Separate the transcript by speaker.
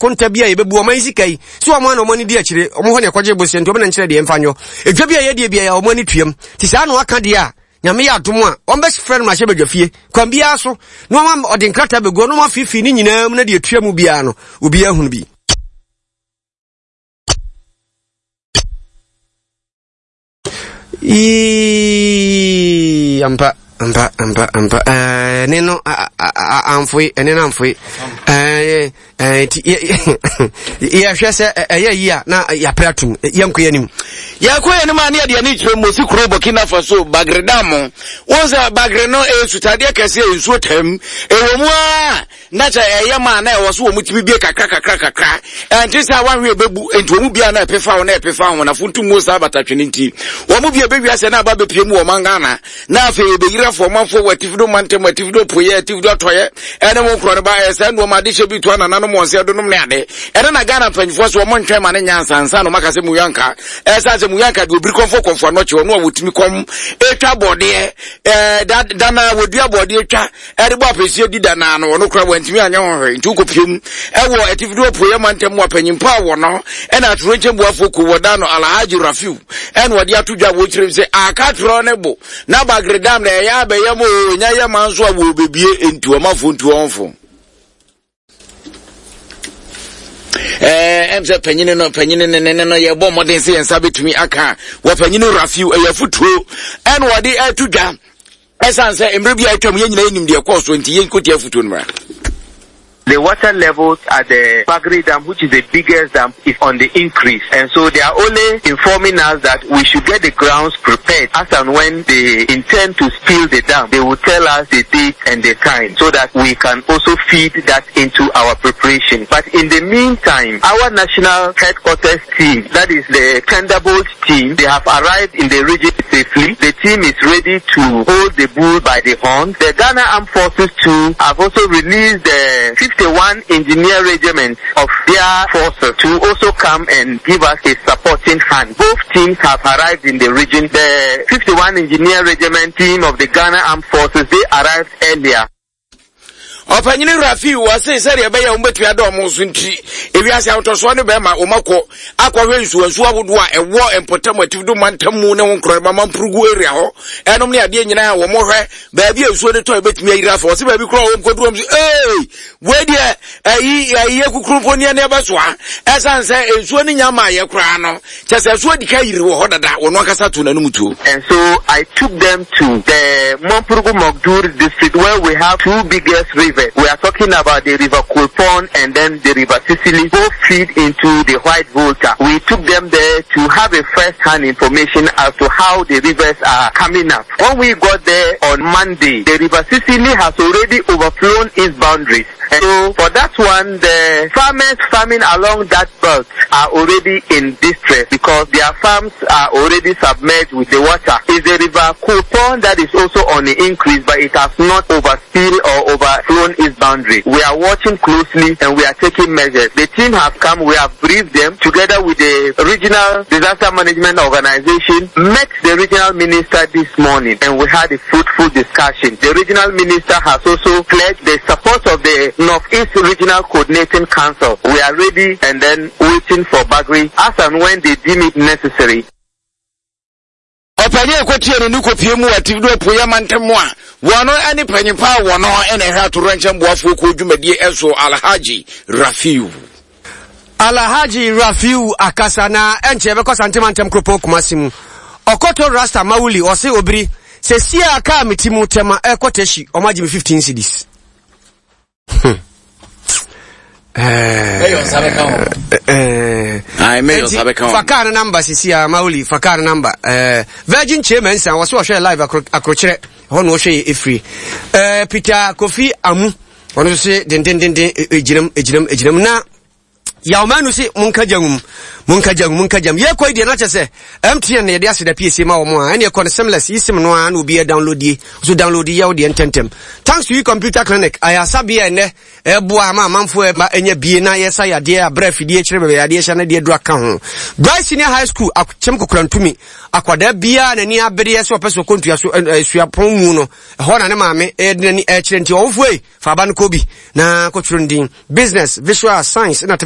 Speaker 1: nkonta bi a yɛbɛbu ɔman sika yi sɛ wɔn a na wɔn ani di akyire, wɔn hɔ na ɛkɔgye bosea nti wɔn na nkyerɛ deɛ ɛmfa nyɔ. Edwa bi a yɛdeɛ bi a wɔn ani tuam. Nti saa na wɔaka deɛ a, Nyame yɛ adom a, wɔbɛfrɛ no mmarahyɛ badwafie kwan biara so na wɔama ɔde nkrataa bɛgu na wɔafiifii ne nyinaa mu na deɛ ɛtua mu biara no, obiara hunu bi. Yii, ampa, ampa, ampa, ampa. Ɛɛ, ne no amfoe, ɛne no amfoe. Ɛɛ, ɛɛ, ti yɛhwɛ sɛ ɛyɛ yi a na yɛapere atum, yɛnkɔ yɛn anim.
Speaker 2: Yɛkɔ yɛn anim a ne yɛde ani kyerɛ Mosi kuro Burkina Faso Bagre Dam. Wɔn sɛ Bagre no ɛyɛ sutadeɛ kɛseɛ nsuo tam. Ɛwɔ mu ara Na sɛ ɛyɛ ma a na ɛwɔ so wɔn tumi bie kakra kakra kakra. Ɛnte sɛ awahwe ɛbɛbu nti wɔn bia na ɛpefa ho na ɛpefa ho na funtum mu saa batatwene nti wɔn bia ɛbɛwia sɛ na aba bɛpie mu wɔ ɔman Ghana na afei ɛbɛyiri afɔ ɔmanfoɔ wɔ atifido mantam atifido apueɛ atifido atɔeɛ ɛne wɔn korɔ no ba ɛyɛ saa nnoɔma adehyɛ bi to anananom wɔn sɛ ɛdonom ne ade ɛne na Ghana mpanyinfoɔ so wɔn ntwɛn ma ne nya nsa nsa na wɔn aka sɛ muyanka ɛsan sɛ muyanka deɛ obiri kɔmfo kɔmfo anɔkye ɔno a wɔtumi kɔm ɛtwa bɔdeɛ ɛɛ dana wɔdua bɔdeɛ twa ɛde bɔ apɛsie di da naa no ɔno koraa wantumi anyɛ ho hwee nti wokɔpie mu ɛwɔ atifido apueɛ mantam mu apanyimpa a wɔ no ɛna atorenkyɛm buafoɔ kuo wɔda no Alhaji Rafiu ɛna ɔde ato dwa wɔkyerɛ mu sɛ akatorɔ ne bo na bagredam na ɛyɛ abɛyɛ mu o ɛnya yɛ ma nso a wɔbɛbie nti ɔmafoɔ ntu ɔmfo ɛm sɛ panyini no panyini ne ne no yɛbɔ mmɔden sɛ yɛn nsa bɛtumi aka wɔ panyini rafiu ɛyɛ afotuo ɛna wɔde ɛto dwa ɛsiane sɛ mmerɛ bi a atwam yɛn nyinaa yɛnim deɛ ɛkɔɔ so nti yɛnkɔtie afotuo no mmra.
Speaker 3: The water levels at the Bagre Dam, which is the biggest dam, is on the increase. And so they are only informing us that we should get the grounds prepared as and when they intend to spill the dam. They will tell us the date and the time so that we can also feed that into our preparation. But in the meantime, our national headquarters team, that is the Thunderbolt team, they have arrived in the region safely. The team is ready to hold the bull by the horn. The Ghana Armed Forces too have also released the 51 Engineer Regiment of their forces to also come and give us a supporting hand. Both teams have arrived in the region. The 51 Engineer Regiment team of the Ghana Armed Forces, they arrived earlier.
Speaker 2: Ɔpanyini Rafi wɔ se sɛdeɛ ɛbɛyɛ wɔn bɛtumi ada wɔn so nti ewiase ahotɔsoɔ ne bɛrima wɔn akɔ akɔhwɛ nsuwansuo ahodoɔ a ɛwɔ mpɔtam atifido mantam mu ne ho nkorɔma mampurugu area hɔ ɛnom ne adeɛ nyinaa a wɔn hwɛ baabi a nsuo no tɔ ɛbɛtumi ayiri afa wɔse baabi koraa wɔn kɔduru wɔn so ee wei deɛ ɛyi ɛyi kukuru mpo neɛ ne ɛbɛsoa ɛsan sɛ nsuo no nya maa yɛ koraa no Kyerɛ sɛ, so adi kan yiri wɔ hɔ dada, ɔno ankasa too n'anom tuo.
Speaker 3: And so I took them to the Mamprugu Mogdur district where we have two biggest rivers. We are talking about the River Kulpon and then the River Sisili, both feed into the White Volta. We took them there to have a first-hand information as to how the rivers are coming up. When we got there on Monday, the River Sisili has already overflown its boundaries. And so for that one, the farmers farming along that belt are already in distress because their farms are already submerged with the water. Is the river Kupon that is also on the increase, but it has not overspilled or overflown its boundary. We are watching closely and we are taking measures. The team have come, we have briefed them together with the regional disaster management organization, met the regional minister this morning and we had a fruitful discussion. The regional minister has also pledged the support of the Northeast Regional Coordinating Council. We are ready and then waiting for Bagri as and when they deem it necessary.
Speaker 2: Ɔpanyin a ɛkɔtie no ne kɔpie mu wɔ atifi do apueɛ mantam mu a wɔno ne panyin pa a wɔno na ɛhwɛ atowerɛnkyɛm boafoɔ kuo dwumadie ɛso Alhaji Rafiu.
Speaker 1: Alhaji Rafiu akasa na ɛnkyɛ yɛbɛkɔ Asante mantam kuropɔn Kumasi mu. Ɔkɔtɔ Rasta Mawuli ɔse obiri sɛsi a kaa me ti mu tɛma ɛkɔ Teshie ɔmo agye me 15 cedis. Hmm. Fa kaa no namba sisi a Mawuli fa kaa no namba. Virgin Che Mensa wɔse ɔhwɛ live akrokyerɛ hɔ na ɔhwɛ yɛ efiri. Peter Kofi Amu ɔno nso se dendendenden egyinam egyinam egyinam na yawmanu se monka gya nwum monka gya nwum monka gyam yɛkɔ yi deɛ na kyɛ sɛ mtn na yɛde aseda piesie ma wɔn a ɛne ɛkɔ no seamless yi sim no a na obi download die so download yɛ wo deɛ ntɛntɛm thanks to you computer clinic ayasabea ɛnɛ ɛboa ama amanfoɔ ɛma ɛnya bie na yɛsa yadeɛ abrɛ afidie kyerɛ bɛbɛ yadeɛ hyɛ no deɛ dura ka ho Bright Senior High School akyɛm kokorantumi akwadaa biara n'ani abereɛ sɛ ɔpɛ sɛ ɔkɔ ntua so suapɔn mu no Ɛhɔ na ne maame de n'ani rekyerɛ nti ɔwofoɔ ei, fa aba no kɔ bi na kɔtwerɛ ne din. Business, Visual, Science na.